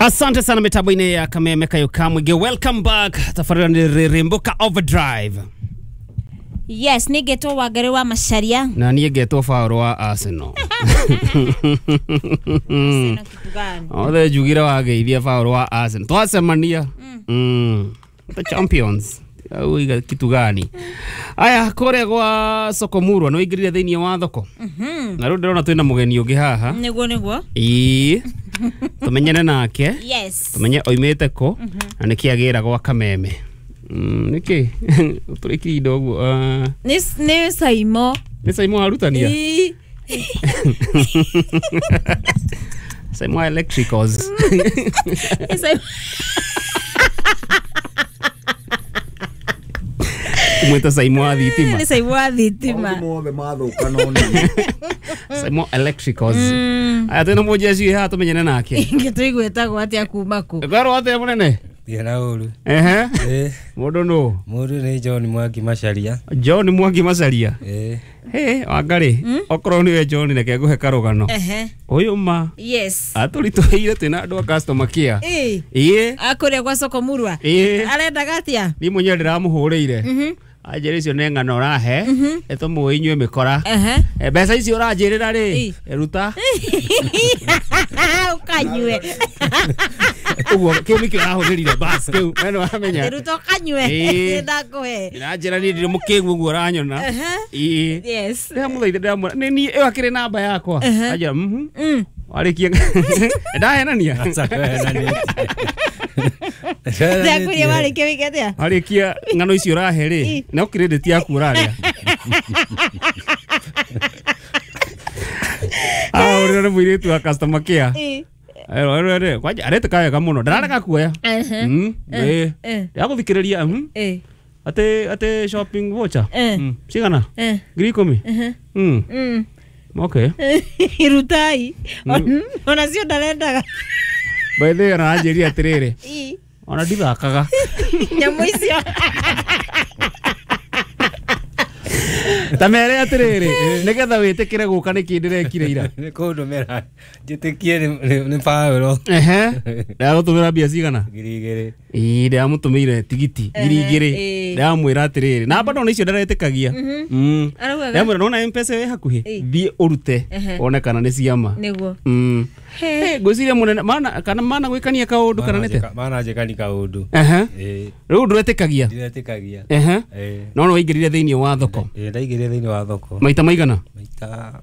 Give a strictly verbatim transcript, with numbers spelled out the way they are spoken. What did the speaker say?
Asante sana mitambo-inĩ ya Kameme Kayo Kamwige. Welcome back. Tabarĩra nĩ Rĩrĩmbũka Overdrive. Yes, nĩ ngetwo Wangari wa Macharia. Na niĩ ngetwo Paul wa Arsenal. Sina kitu gani? Othe njugire wageithia Paul wa Arsenal. Twacemania. Mm. The champions. Uiga kitu gani? Aya, kũrĩa gwa soko murwa nĩ waingĩrire thĩinĩ wa thoko. Na rĩu ndĩrona twĩna mũgeni ũngĩ haha. Nĩguo nĩguo. Ĩĩ. Tũmenyane nake. Yes. Tumenye oimĩte kũ na nĩkĩ agĩra gwa Kameme. Mm, nĩkĩ ũtũrĩkire indo ũguo? Ah, Nĩ nĩ Saimo. nĩ Saimo arutania? Ĩĩ. Saimo Electricals. Nĩ Saimo. Mwĩta Saimo wa thitima. Nĩ Saimo wa thitima. Maũndũ mothe mathũka no nĩ Saimo Electricals. Aya, twĩna mũjeshi haha tũmenyane nake. Ngĩtũigua ĩtagwo atĩa kuma kũ? Ngorwo atĩa mũnene? Thiĩ na ũru. Ehe. Ĩ, Mũndũ nũ? mũndũ nĩ John Mwangi Macharia. John Mwangi Macharia. Ĩ, He, Wangari, okorwo nĩwe John reke ngũhe karũgano. Ehe. Ũyũ ma Yes. atũritũhĩire twĩna andũ a customer care. Ĩĩ. Ĩĩ. Akũrĩa gwa soko murwa. Ĩĩ. Arendaga atĩa? Niĩ mwenyewe ndĩramũhũrĩire. Anjĩra icio nĩ ng'ano ũrahe ĩtũmũĩ inyuĩ mĩkora. Ehe. Eh, mbeca icio ũranjĩrĩra rĩ Ĩ. ruta Ũkanyue. Ũguo kĩu nĩkĩo arahũthĩrire bas kĩu we nĩ wamenya. Ruta ũkanyue. Ĩĩ. Ndakũhe. Ndĩranjĩra niĩ ndirĩ mũkĩgu ũguo ũranyona. Ehe. Ĩĩ. Yes. Ndĩramũthaitha ndĩramwĩra nĩ niĩ ĩyo akĩrĩ namba yakwa. Anjĩra mhm. Mm. Warĩkia ndahenania. Aca ndwehenanĩtie. Ndakwĩria warĩkia wĩke atĩa? Warĩkia ng'ano icio ũrahe rĩ no credit yaku ũrarĩa. Ah, ũrĩa nĩ mũirĩtu wa customer care. Ĩĩ. Ero ero ero kwanja aretĩka wega mũno ndararega kuoya. Ehe. Mm, ĩĩ. Eh. Ndĩragũthikĩrĩria mhm. Ĩĩ. Atĩ atĩ shopping voucher. Eh. Mm, cigana? Eh. Ngiri ikũmi? Ehe. Mm. Mm. Okay. Rutai. Ona cio ndarendaga. By the way, ona anjĩrire atĩrĩrĩ Ĩĩ. ona ndithakaga. Nyamũ icio. Ta mere atĩrĩrĩ nĩgetha wĩtĩkĩre gũka nĩkĩ ndĩrekire ira. Nĩ kũndũmĩra njĩtĩkie nĩ- nĩ nĩ Paũlo. Ehe. Ndagũtũmĩra mbia cigana? Ngiri igĩrĩ. Ĩĩ ndĩramũtũmĩire tigiti ngiri igĩrĩ. ĩĩ. Ndĩramwĩra atĩrĩrĩ namba ndona icio ndaretĩkagia. Mm. Araugaga. Ndĩramwĩra nona M-Pesa ĩ hakuhĩ Ĩĩ. thiĩ ũrute Ehe. wone kana nĩ ciama. Nĩguo. Mm. He. Eh, ngwĩciria mũnene mana kana mana gwĩkania kaũndũ kana nĩte? Mananjĩkani kaũndũ. Ehe. Ĩ, Rĩu ndũretĩkagia? ndiretĩkagia. Ehe. Ĩ, No no waingĩrire thĩinĩ wa thoko ĩ, ndaingĩrire thĩinĩ wa thoko maita maigana? maita